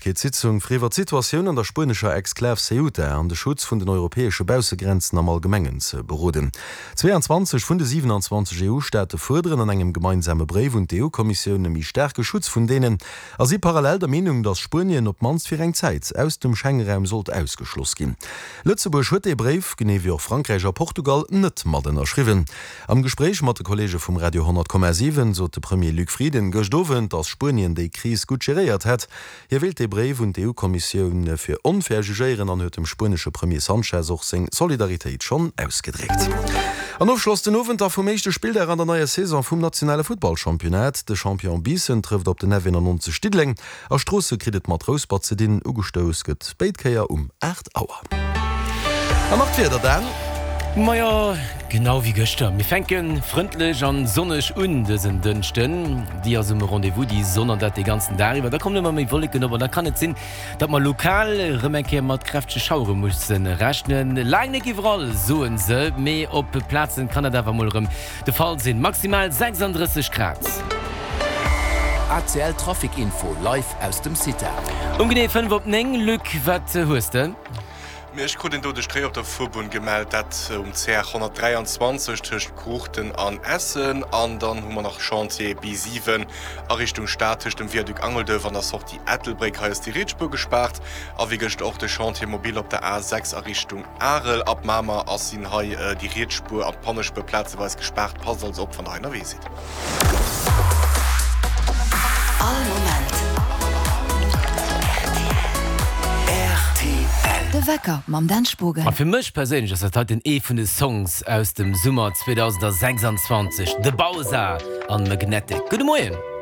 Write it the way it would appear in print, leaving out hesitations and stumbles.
Drénglechkeetssitzung, fir iwwer d'Situatioun an der spuenescher Exklav Ceuta an de Schutz vun den europäesche Baussegrenzen am Allgemengen ze beroden. 22 vun de 27 EU-Staate fuerderen an engem gemeinsame Bréif un d'EU-Kommissioun e méi staarke Schutz vun deenen a si parallel der Meenung, datt Spuenien op d'mannst fir eng Zäit aus dem Schengeraum sollt ausgeschloss ginn. Lëtzebuerg huet dee Bréif, genee wéi och Frankräich a Portugal, net mat ënnerschriwwen. Am Gespréich mat de Kolleege vum Radio 100,7 sot de Premier Luc Frieden gëscht Owend, datt Spuenien déi Kris gutt geréiert hätt. Hie wéilt dee Bréif un d'EU-Kommissioun fir onfair jugéieren an huet dem spuenesche Premier Sanchez och seng Solidaritéit schonn ausgedréckt. An Ofschloss den Owend da vum éischte Spilldag an der neier Saison vum nationale Futtballchampionnat. De Champion Biissen trëfft op den F91 Diddeleng A Stroosse kritt et mat Rouspert ze dinn, ugestouss gëtt béid Kéier um 8 Auer. An nach d'Wieder, Dan? Majo, genau wéi gëschter. Mir fänke frëndlech an sonneg un dësen Dënschden. Déi ass um Rendez-vous, déi Sonn, an dat de ganzen Dag iwwer. Da kommen ëmmer méi Wolleken op an da kann et sinn, datt mer lokal erëm eng Kéier mat kräftege Schauere musse rechnen. Laang net iwwerall, soe se, mee op Plazen kann dat awer mol erëm De Fall sinn maximal 36 Grad. ACL Trafic Info live aus dem CITA. Um genee 5 op 9, Luc, wat hues de? Mee ech krut een doudegt Réi op der Fuerbunn gemellt, dat um CR 123 tëscht Kruuchten an Essen. An dann hu mer nach Chantier B7 a Richtung Stad tëscht dem Viaduc Angelduerf an der Sortie Ettelbréck. Hei ass déi riets Spuer gespaart. A wéi gëschter och de Chantier mobile op der A6 a Richtung Arel. Ab Mamer ass sinn hei déi riets Spuer an d'Pannespuer plazeweis gespaart. Passt also op wann der hei ënnerwee sidd. All Moment rtl. De Wecker mam Dan Spogen. A fir mech perséinlech ass dat heiten ee vun de Songs aus dem Summer 2026, The Bausa an Magnetic. Gudde Moien!